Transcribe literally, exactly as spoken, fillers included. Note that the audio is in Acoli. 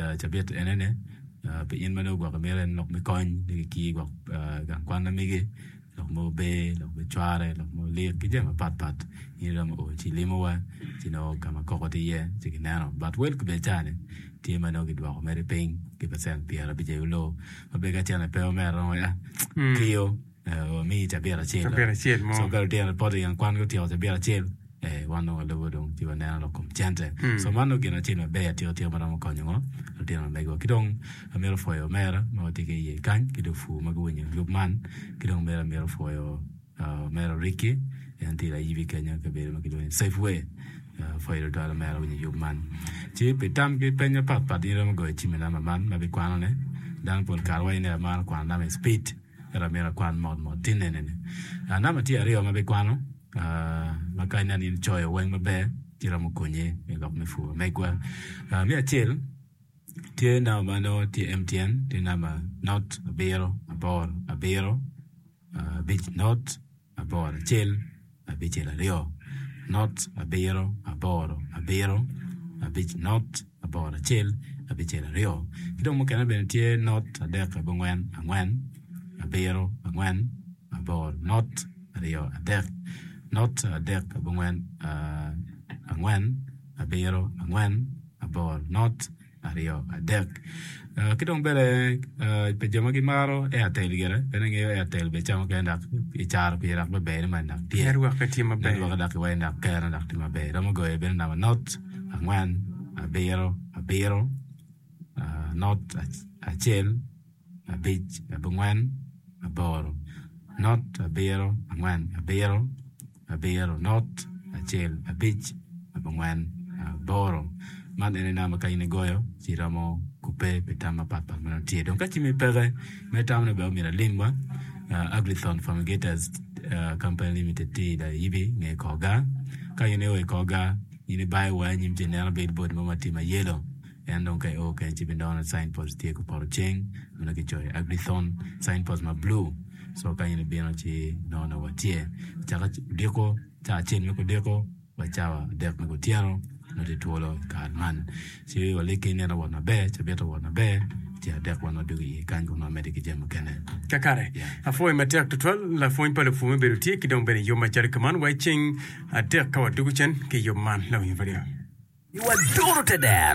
Cabit enene pi in ma nongo gwok imito en lok me kony ni kikir gwok gang kwan ma megi lok mogo ber lok me cware lok mogo lik ki jami mapat pat in iromo o ci ilimowa ci nongo ka ma koko tye iye ci kineno but wel ki bene cani tye ma nongo kidwoko mere piny ki pacent pyerabic aye oloo ma bene ka cene pe omera romo ya kiyo wamiyi cabit acel Cabit acel mo. so ka lutino poto i gang kwan gutyeko cabit acel eh, wan dong walubo dong ci waneno lok kom cente so man dong gin acel maber atika tika ma romo konyo ngo lutino ma megiwa ki dong amito pwoyo omera ma watye ki iye kany ki dong pur ma guwinyo yub man ki dong mere amito pwoyo uh, omera Ricky en tye layibi kenyo i kabedo ma kilwongo ni Safeway uh, pwoyo tutwal omera winyo yub man ci pi tam ki peny mapatpat in iromo goyo cim i namba man ma bikwanone dano pol kare waco ni amaro kwano namba i speed ento amito akwan mot mot tin nene-ni uh, namba tye aryo ma bikwano uh, ma ka ineno in icoyo weng maber ci romo konyi i lok me pur megwa uh, me acel tye namba ma nongo tye M T N tye namba not abiro aboro abiro uh, abic not aboro acel abicel aryo not abiro aboro abiro abic not aboro acel abicel aryo ki dong mukene bene tye not adek abongwen angwen abiro angwen aboro not aryo adek not adek abongwen uh, angwen abiro angwen aboro not aryo adek uh, ki dong bene uh, pi jo ma gimaro Airtel gire bene ngeyo Airtel be ca mukene dok i caro pire dok beber man dok tye Network tye maber. Network dok iwaci dok kere dok tye maber romo goyo bene namba not angwen abiro abiro uh, not ac- acel abic abongwen aboro not abiro angwen abiro abiro not acel abic abongwen aboro man ene namba ka in igoyo ci romo kupe pi tam mapatpat ma nongo tye dong ka cimmi peke me tam ni bene omyero alimwa uh, Agrithon Fumigators uh, Company Limited tye i Layibi nge Koga ka in io i Koga in ibayo wa anyim ci ineno billboard mo ma tye ma yellow en dong ka io kenyo ci ibinongo signpost tye kupoto ceng ma nongo kicoyo Agrithon signpost ma blue so ka in ibino ci inongo nongo watye caka odiko ca acel me kudiko wa cawa adek me kutyeno nongo tye twolo i kare man ci waliki nino wot maber cabit owot maber ci adek wan wadwogo iye kany kun wamedde ki jami mukene Kakare. Yeah. Apwoyo matek tutwal lapwony pa lupur me bedo tye ki dong bene yub macalo kuman wa i ceng adek ka wadwogo cen ki yub man lawinyo radio. Iwadoro te dero.